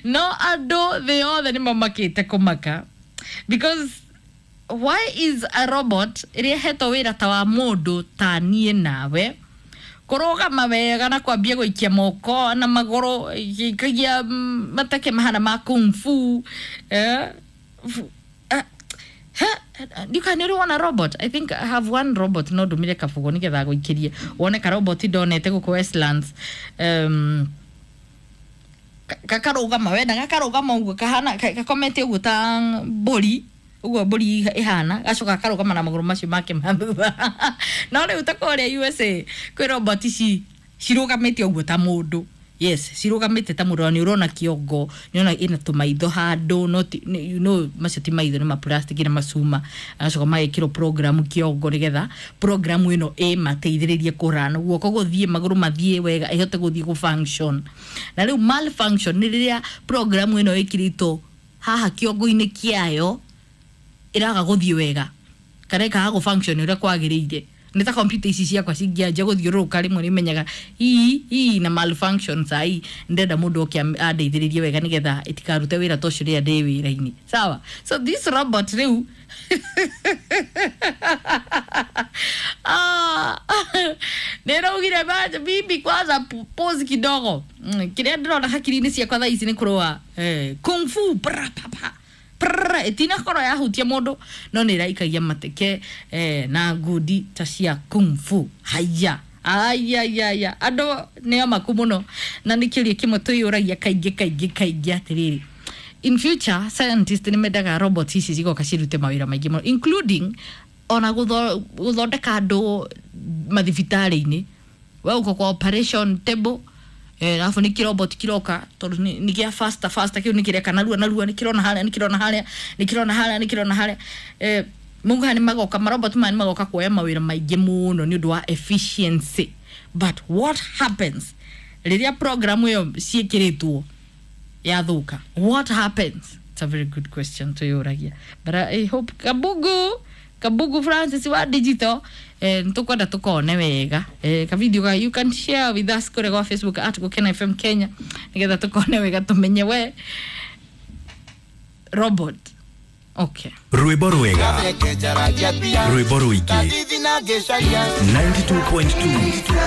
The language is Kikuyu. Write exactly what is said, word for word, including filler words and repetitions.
No andũ thĩ yothe nĩ mamakĩte kũmaka, because why is a robot ĩrĩa ĩhetwo wĩra ta wa mũndũ ta niĩ nawe kũrũgama wega na kwambia gũikia moko na magũrũ ĩgĩikagia mateke mahana ma kung fu, eh? Fu- eh, ha, ndiũkaga nĩ ũrĩ wona robot? I think I have one robot, no ndũmire kabugo nĩgetha gũikĩrie wone ka robot ndonete gũkũ Westlands, um, kakarũgama wenda gakarũgama ũguo kahana ka- gakomete ũguo ta mbũri, ũguo mbũri ĩhana, gacoka gakarũgama na magũrũ macio make ma thutha. No rĩu ta kũrĩa U S A kwĩ robot ici cirũgamĩte ũguo ta mũndũ. Yes, cirũgamĩte ta mũndũ, na nĩ ũrona kĩongo, nĩ ũrona ĩna tũmaitho handũ, no ti, nĩ- you know macio ti maitho, nĩ ma plastic na macuma, agacoka magekĩrwo program kĩongo nĩgetha program ĩno ĩmateithĩrĩrie kũrana guoko gũthiĩ, magũrũ mathiĩ wega, ĩhote gũthiĩ gũ function. Na rĩu malfunction nĩ rĩrĩa program ĩno ĩkĩrĩtwo haha kĩongo-inĩ kĩayo ĩraga gũthiĩ wega kana ĩkaga gũ function ũrĩa kwagĩrĩire. Nĩ ta computer ici ciakwa cingĩanjia gũthiũrũrũka, rĩmwe nĩmenyaga ii ii na malfunction. Sai ndĩrenda mũndũ oke am- andeithĩrĩrie wega nĩgetha ĩtikarute wĩra ta ũcio rĩrĩa ndĩ wĩra-inĩ. Sawa, so this robot rĩu, ah, nĩ ĩraugire, "Maja, bibi kwanza pu- pause kidogo." Mm, kĩrĩa ndĩrona hakiri-inĩ ciakwa thaa ici nĩ kũrũa eh, kung fu pra, pa, pa prrr, ĩtinakorwo yahutia mũndũ, no nĩ ĩraikagia mateke eh, na ngundi ta cia kung fu. Haya, ayayaya, andũ nĩ amaku mũno, na nĩ kĩũria kĩmwe twĩyũragia kaingĩ kaingĩ kaingĩ atĩrĩrĩ, in future scientist nĩ mendaga robot ici cigoka cirute mawĩra maingĩ mũno, including ona gũtho- gũthondeka andũ mathibitarĩ-inĩ. We uko kwa operation table, eh, alafu nĩ kĩrobot kĩroka tondũ nĩ nĩ gĩa faster faster, kĩu nĩ kĩreka narua narua, nĩ kĩrona harĩa, nĩ kĩrona harĩa, nĩ kĩrona harĩa, nĩ kĩrona harĩa. eh, mauga nĩ magoka, marobot maya nĩ magoka kuoya mawĩra maingĩ mũno nĩ ũndũ wa efficiency. But what happens rĩrĩa program ĩyo ciĩkĩrĩtwo yathũka? What happens? It's a very good question tuyũragia, but I hope Kabugu, Kabugu Francis wa digital, eh, nĩtũkwenda tũkone wega eh, ka video ga you can share with us kũrĩa gwa Facebook at Gũkena F M Kenya, nĩgetha tũkone wega tũmenye we robot. Okay. Rwĩmbo rwega, rwĩmbo rũingĩ, mĩrongo kenda na igĩrĩ turuma kenda.